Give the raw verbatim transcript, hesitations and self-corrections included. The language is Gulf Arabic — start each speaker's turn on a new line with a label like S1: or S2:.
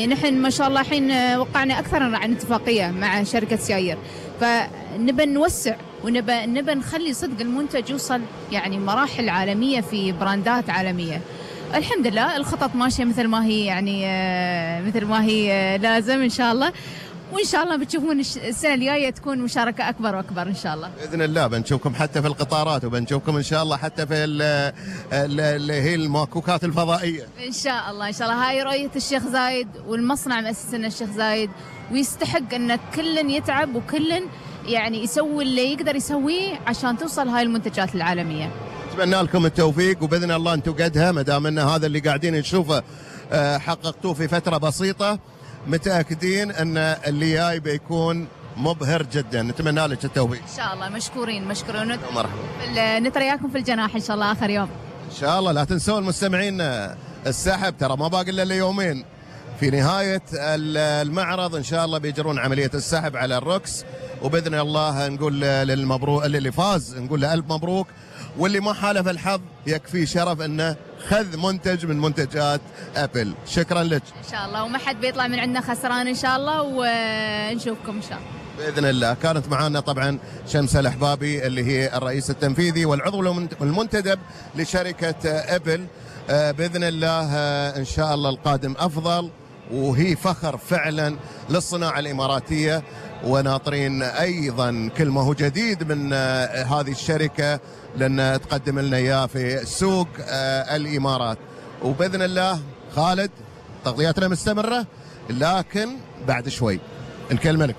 S1: نحن ما شاء الله الحين وقعنا أكثر عن اتفاقية مع شركة سيايير، فنبى نوسع ونبى نبى نخلي صدق المنتج يوصل يعني مراحل عالمية في براندات عالمية. الحمد لله الخطط ماشية مثل ما هي، يعني مثل ما هي لازم إن شاء الله، وإن شاء الله بتشوفون السنة الجاية تكون مشاركة أكبر وأكبر إن شاء الله
S2: بإذن الله. بنشوفكم حتى في القطارات، وبنشوفكم إن شاء الله حتى في اللي هي الماكوكات الفضائية
S1: إن شاء الله. إن شاء الله هاي رؤية الشيخ زايد، والمصنع مؤسسنا الشيخ زايد، ويستحق أن كل يتعب وكل يعني يسوي اللي يقدر يسويه عشان توصل هاي المنتجات العالمية.
S2: أتمنى لكم التوفيق، وبإذن الله أنتم قدها، ما دام أن هذا اللي قاعدين نشوفه حققتوه في فترة بسيطة، متأكدين أن اللي جاي بيكون مبهر جدا. نتمنى لك التوفيق
S1: إن شاء الله. مشكورين مشكورين.
S2: مرحبا.
S1: نترياكم في الجناح إن شاء الله آخر يوم
S2: إن شاء الله. لا تنسون المستمعين السحب، ترى ما باقي إلا ليومين. في نهاية المعرض إن شاء الله بيجرون عملية السحب على الروكس، وبإذن الله نقول للمبروك اللي فاز نقول له ألف مبروك، واللي ما حالف الحظ يكفي شرف أنه خذ منتج من منتجات أبل. شكرا لك
S1: إن شاء الله، وما حد بيطلع من عندنا خسران إن شاء الله، ونشوفكم إن شاء الله
S2: بإذن الله. كانت معنا طبعا شمسة الأحبابي اللي هي الرئيس التنفيذي والعضو المنتدب لشركة أبل. بإذن الله إن شاء الله القادم أفضل، وهي فخر فعلا للصناعة الإماراتية، وناطرين أيضا كل ما هو جديد من هذه الشركة لأن تقدم لنا إياه في سوق الإمارات. وبإذن الله خالد تغطياتنا مستمرة، لكن بعد شوي الكلمة لك.